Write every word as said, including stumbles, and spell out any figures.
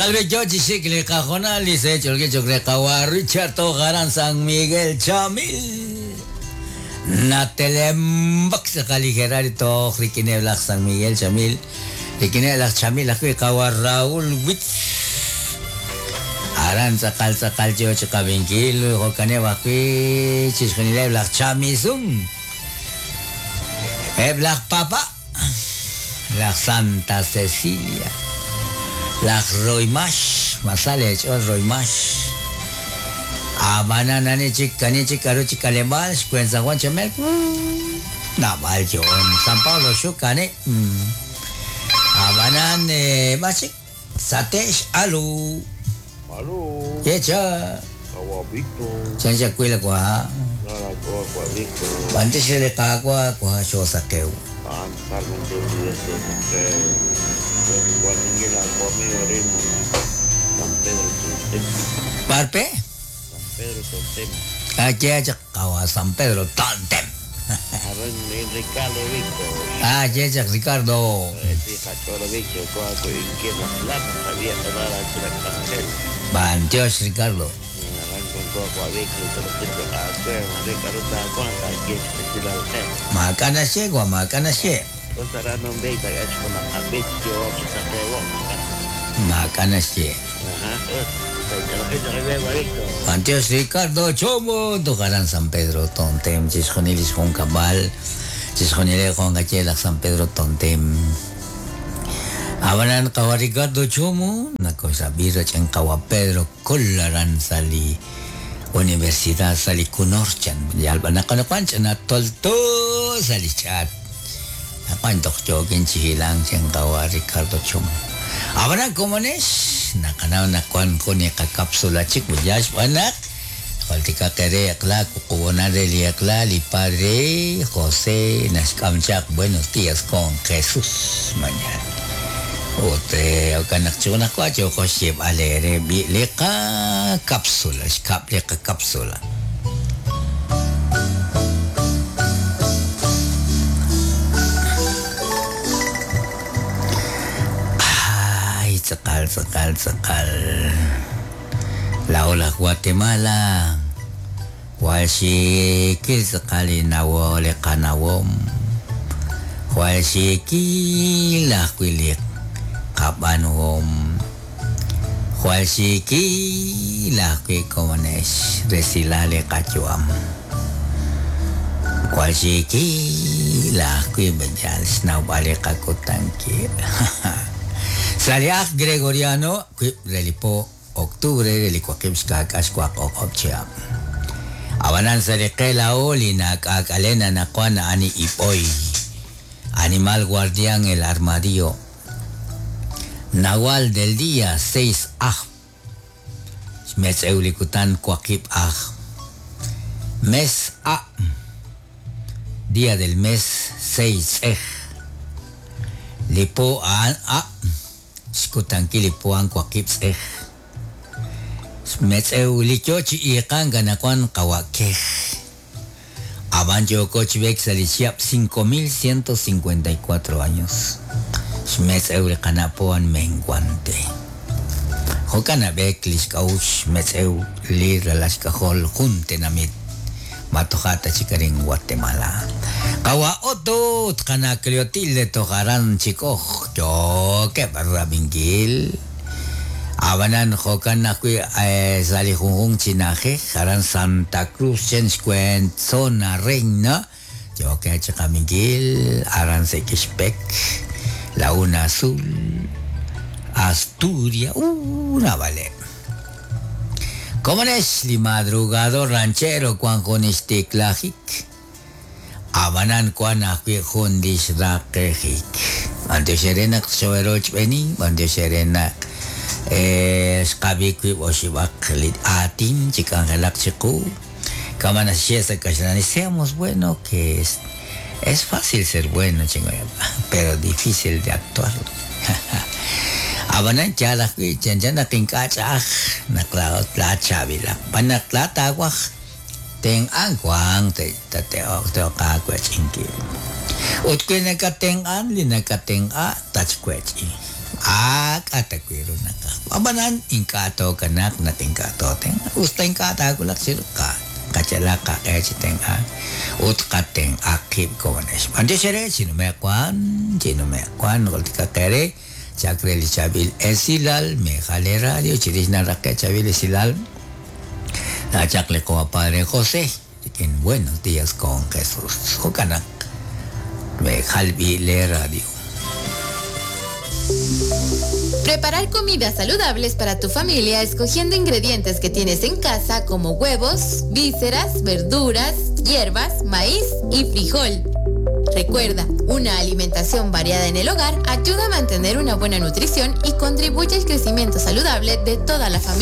Albechochi xikli qajonal se cholke qawa Richard Tojaran San Miguel Chamil. Natelembak tz'aqal toj rikineb laj San Miguel Chamil. Rikineb laj Chamil ajwi' qawa Raúl Witz. Aran tz'aqal tz'aqal choch qabinkil jo'kaneb ajwi' chixjunileb laj Chamizun. Eb laj Papa, laj Santa Cecilia, laj Roymash, masale ch'ol Roymash. Abanan ani chik ani chik aru chik kalebal xkwen San Juan Chamel. Nabal yon San Pablo xukane. Abanan eh bachik satesh alu. Alu. Yecha. Awa Victor. Chancha kuila kwa. Nara kwa kwa Victor. Bantes le ka kwa kwa shosakeu. An salmon de San Pedro Tontem. Parpe? San Pedro Tontem. Aquí hay kawa San Pedro Tontem. Ricardo Víctor. Ah, yecha Ricardo. Bantios Ricardo. Makana she gua makana she. Makana she. Bantios Ricardo Chomo tocarán San Pedro Tontem chisjonilis con cabal chisjonile con gachela San Pedro Tontem. Abanan kawa Ricardo Chomo nakosa bira chen kawa Pedro Kolaran sali Universidad sali Kunorchan yalba nakanapancha na tolto sali chat napantok jokin chihilang chen kawa Ricardo Chomo. Abanan komones nakanaw nakuan ko ni kakapsula chik bujash anak koltika kere akla kukuona de akla li padre José Naskamchak buenos días con Jesús mañana. Ote okanak chuna kwa choko shib alere bi leka kapsula shkap leka kapsula. Ay, tzakal tzakal tzakal. La ola Guatemala. Walshikil tzakali nawo leka nawom. Walshikil akwiliq kapanuhom Hualxiki lajwi komonex resilale kachuam Hualxiki lajwi beyal xnawb'ale kakutanki Saliaj Gregoriano relipo octubre relikuakib xkak'ax kuaq'oq'ob'chiab Abanan saliqela oli nak'ak'alena nakuana ani ipoy Animal guardián el armadillo Nahual del día seis aj. Metzeulicutan cuaquip aj. Mes a. Día del mes seis ej. Lipo an a. Xkutanki lipo an cuaquip ej. Metzeulichochi iqan ganacuan kawaquej. Aban yokoch salichiap cinco mil ciento cincuenta y cuatro años. Xmetzeu kanapoan menguante. Jokana beklish kaush metzeu lira las kajol juntenamit. Matojata chikarin Guatemala. Kawa oto tkanakleotilde tojaran chikoj. Yo que barra bingil. Abanan jokan akui sali junjun chinaje. Jaran Santa Cruz chenxcuen zona reina. Yo que chikamingil. Aran sekishpek. Laguna Azul, Asturias, una vale. ¿Cómo es li madrugador ranchero cuan jonisticlajic? Abanan cuan ajui jundis raquejic. Antioxerenak xoeroch beni, antioxerenak xqabikui oxibak lit atin chikangelak chiku. Kamanashiesa kashnani, seamos bueno que es. Es fácil ser bueno, chingo, pero difícil de actuar. Abanan chalak chan nakinkachaj nakla chavila panakla tawaj ten anguang te te te ka chinki. Utque nakaten an li nakaten a tachcuechi. Ak'atawiru naqaj. Ab'anan ink'a' tookanaq naq ink'a' tootenq'a. Usta ink'a' taawulaq chiru qa qachalaq qaq'e chi tenq'ank ut qatenq'aq qib' komonex. B'antiox re chinume'wan, chinume'wan jultikaq eere chak re li chaab'il esilal mejal radio chirix naraqe' chaab'il esilal taachaq li qawa Padre José en Buenos Días con Jesús. Jo'kan mejal b'i le radio. Preparar comidas saludables para tu familia escogiendo ingredientes que tienes en casa como huevos, vísceras, verduras, hierbas, maíz y frijol. Recuerda, una alimentación variada en el hogar ayuda a mantener una buena nutrición y contribuye al crecimiento saludable de toda la familia.